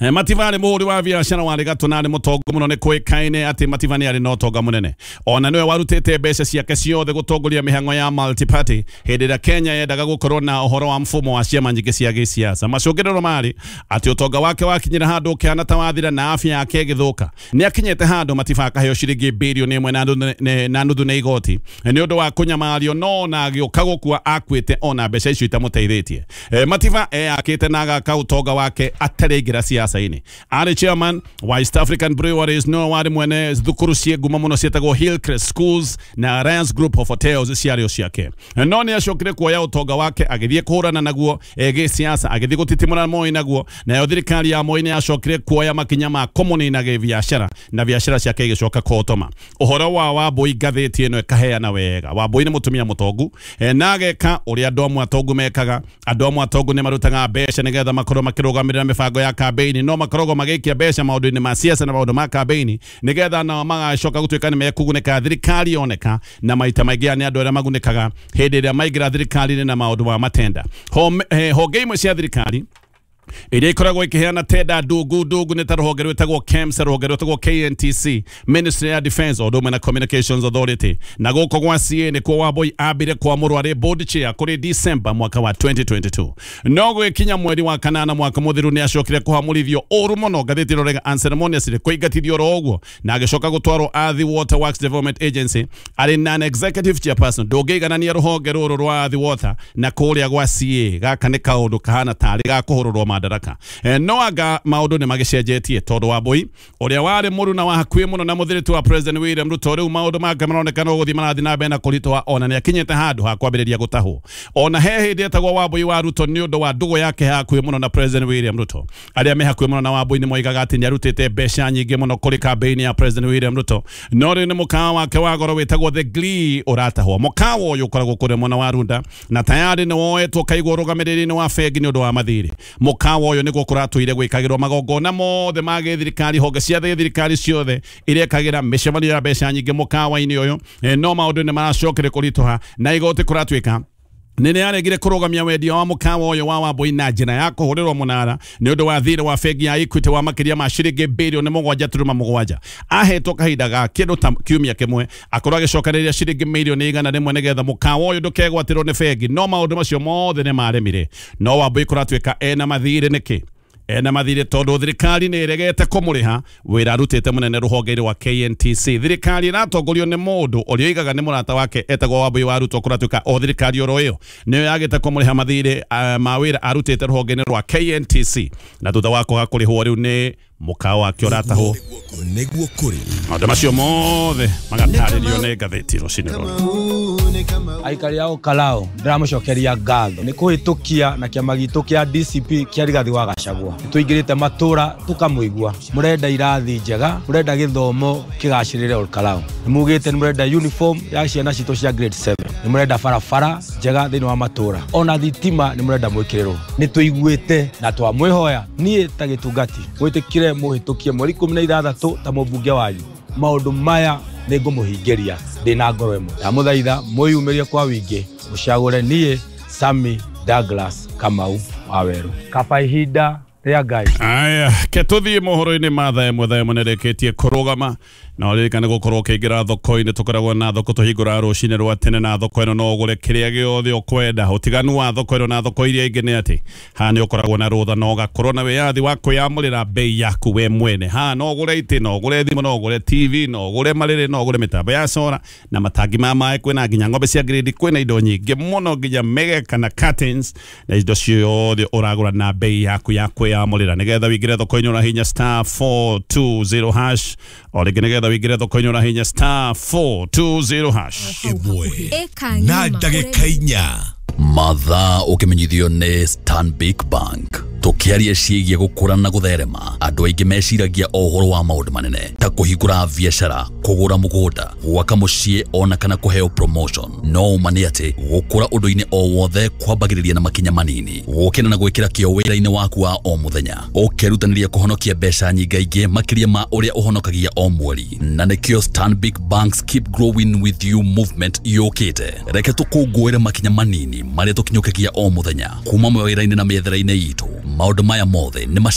Mativa arĩ mũhũri wa biacara warĩ gatũ na arĩ mũtongu mũno. Nĩ kũĩkaine atĩ Mativa nĩ arĩ na ũtonga mũnene, ona nĩwe warutĩte mbeca ciake ciothe gũtongoria mĩhang'o ya multi-party hĩndĩ ĩrĩa Kenya yendaga gũkorwo na ũhoro wa mfumo wa ciama nyingĩ cia gĩsiasa. Macũngĩrĩro marĩ atĩ ũtonga wake wakinyĩra handũ ũkĩhana ta wathira na afya yake ĩgĩthũka. Nĩ akinyĩte handũ Mativa akaheo ciringi birioni 1 na nuthu nĩ igoti nĩ ũndũ wa kũnyamario, no na agĩũka gũkua akuĩte ona mbeca icio itamũteithĩtie. Mativa eyakĩte na agaka ũtonga wake atarĩ siasa-inĩ. Arĩ chairman wa East African Breweries, no warĩ mwene thukuru ciĩ ngumo mũno ciĩtagwo Hillcrest Schools na Alliance Group of Hotels ciarĩ o ciake. No nĩ acokire kuoya ũtonga wake agĩthiĩ kũhũrana naguo gĩsiasa, agĩthiĩ gũtitimũra Moi naguo, nayo thirikari ya Moi nĩ yacokire kuoya makinya ma kũmũnina gĩbiacara na biacara ciake igĩcoka kũhotoma. Ũhoro wa Wambui ngathĩti ĩno ĩkaheana wega. Wambui nĩ mũtumia mũtongu na ageka ũrĩa andũ amwe atongu mekaga. Andũ amwe atongu nĩ marutaga mbeca nĩgetha makorwo makĩrũgamĩrĩra mĩbango ya kambeini, no makoragwo magĩikia mbeca maũndũ-inĩ ma siasa na maũndũ ma kambeini nĩgetha nao magacoka gũtuĩka nĩ mekũgunĩka thirikari yoneka, na maita maingĩ nĩ andũ arĩa magunĩkaga hĩndĩ ĩrĩa maingĩra thirikari-inĩ na maũndũ ma matenda. Honge imwe cia thirikari iria ikoragwo ikiheana tenda ndungu ndungu nĩ ta rũhonge rwĩtagwo KEMSA, rũhonge rwĩtagwo KNTC, Ministry ya Defense o ũndũ ũmwe na Communications Authority. Na gũkũ gwa CA nĩkuo Wambui ambire kwamũrwo arĩ board chair kũrĩ December mwaka wa 2022. No gwĩkinya mweri wa kanana mwaka mũthiru nĩ acokire kũhamũrithio ũru mũno, ngathĩti ĩrorega unceremoniously kũingatithio oro ũguo, na agĩcoka gũtwarwo Athi Water Works Development Agency arĩ non-executive chairperson. Ndũngĩiganania rũhonge rũrũ rwa Athi Water na kũrĩa gwa CA. Gaka nĩ kaũndũ kahana tarĩ ga kũhũrũrwo madaraka. No anga maũndũ nĩ magĩcenjetie tondũ Wambui ũrĩa warĩ mũruna wa hakuhĩ mũno na mũthiritu wa President William Ruto, rĩu maũndũ make maronekana gũthiĩ marathiĩ na mbere na kũritũha, ona nĩ akinyĩte handũ ha kwambĩrĩria gũtahwo. Ona he hĩndĩ etagwo Wambui wa Ruto nĩ ũndũ wa ndũgũ yake hakuhĩ mũno na President William Ruto. Arĩa me hakuhĩ mũno na Wambui nĩ moigaga atĩ nĩ arutĩte mbeca nyingĩ mũno kũrĩ kambeini ya President William Ruto, no rĩu nĩ mũkawa wake wa goro wĩtagwo The Glee ũratahwo. Mũkawa ũyũ ũkoragwo kũrĩa mwena wa Runda na tayarĩ nĩ woetwo kaigwo ũrũgamĩrĩri-inĩ wa bengi nĩ ũndũ wa mathirĩ. Mũkawa ũyũ nĩguo kũratũire gwĩkagĩrwo magongona mothe ma gĩthirikari, honge cia thirikari ciothe irekagĩra mĩcemanio ya mbeca nyingĩ mũkawa-inĩ ũyũ. No maũndũ nĩ maracokire kũritũha na igoti kũratuĩka nĩ nĩaregire kũrũgamia wendia wa mũkawa ũyũ wa Wambui na njĩra ya kũhũrĩrwo mũnara nĩ ũndũ wa thirĩ wa bengi ya Equity wa makĩria ma ciringi birioni 7.7. Ahetwo kahinda ga kĩndũ ta kiumia kĩmwe akorwo agĩcokanĩrĩria ciringi mirioni 100 nĩgetha mũkawa ũyũ ndũkegwatĩrwo nĩ bengi, no maũndũ macio mothe nĩ maremire. No Wambui kũratuĩka ena mathirĩ nĩkĩ? Ena mathirĩ tondũ thirikari nĩ ĩregete kũmũrĩha wĩra arutĩte mũnene rũhonge-inĩ rwa KNTC. Thirikari ĩratongorio nĩ mũndũ ũrĩa oigaga nĩ mũrata wake etagwo Wambui wa Ruto, kũratuĩka o thirikari oro ĩyo nĩyo yagĩte kũmũrĩha mathirĩ ma wĩra arutĩte rũhonge-inĩ rwa KNTC, na thutha wa kwaga kũrĩhwo rĩu nĩ mũkawa wake ũratahwo. Nĩguo kũrĩ maũndũ macio mothe magatarĩrio nĩ ngathĩti rũcinĩ rũrũ. Aikari ao Kalao ndĩramũcokeria ngatho nĩ kũhĩtũkia na kĩama gitũ kĩa DCP kĩa Rigathi wa Gachagua. Nĩtũingĩrĩte matũra tũkamũigua, mũrenda irathi njega, mũrenda gĩthomo kĩgacĩrĩre Ol Kalou, nĩ mugĩte nĩ mũrenda uniform ya ciana citũ cia grade 7, nĩ mũrenda barabara njega thĩinĩ wa matũra, ona thitima nĩ mũrenda mwĩkĩrĩrwo. Nĩ tũiguĩte na twamwĩhoya niĩ ta gĩtungati mwĩtĩkire mũhĩtũkie mweri 16 ta mũmbunge wanyu. Maũndũ maya nĩ ngũmũhingĩria ndĩna ngoro ĩmwe. Ndamũthaitha mwĩyumĩrie kwa wingĩ mũcagũre niĩ Sammy Douglas Kamau wa Weru. Kaba ihinda rĩa Ngai. Aya, ke tũthiĩ mohoro-inĩ ma thaa ĩmwe. Thaa ĩmwe nĩrĩkĩtie kũrũgama, na ũririkane gũkorwo ũkĩingĩra thoko-inĩ. Tũkoragwo na thoko tũhingũraga rũcinĩ rwa tene, na thoko ĩno no ũgũre kĩrĩa gĩothe ũkwenda. Ũtiganu wa thoko ĩno na thoko iria ingĩ nĩ atĩ haha nĩ ũkoragwo na rũtha na ũgakorwo na wĩyathi wa kwĩyamũrĩra bei yaku we mwene. Haha no ũgũre itĩ, no ũgũre thimũ, no ũgũre TV, no ũgũre marĩrĩ, no ũgũre mĩtambo ya cora na matangi ma maĩ, kwĩna nginya ng'ombe cia grade, kwĩna indo nyingĩ mũno nginya mĩgeka na curtains na indo ciothe ũragũra na bei yaku ya kwĩyamũrĩra. Nĩgetha wĩingĩre thoko-inĩ ũrahinya *420#, o rĩngĩ nĩgetha wĩingĩre thoko-inĩ ũrahinya *420#. Ĩmwe Ĩka na ng'ima ndagĩka 4. Mathaa ũkĩmenyithio nĩ Stanbic Bank. Tũkĩaria ciĩgiĩ gũkũra na gũtherema, andũ aingĩ meciragia o ũhoro wa maũndũ manene ta kũhingũra biacara, kũgũra mũgũnda, gwaka mũciĩ ona kana kũheo promotion. No ũma nĩ atĩ gũkũra ũndũ-inĩ o wothe kwambagĩrĩria na makinya manini, gũkĩra na gwĩkĩra kĩo wĩra-inĩ waku wa o mũthenya, ũkerutanĩria kũhonokia mbeca nyingaingĩ makĩria ma ũrĩa ũhonokagia o mweri. Na nĩkĩo Stanbic Bank's Keep Growing With You movement yũkĩte. Reke tũkũngũĩre makinya manini marĩa tũkinyũkagia o mũthenya kuma mawĩra-inĩ na mĩethere-inĩ itũ. Maũndũ maya mothe nĩ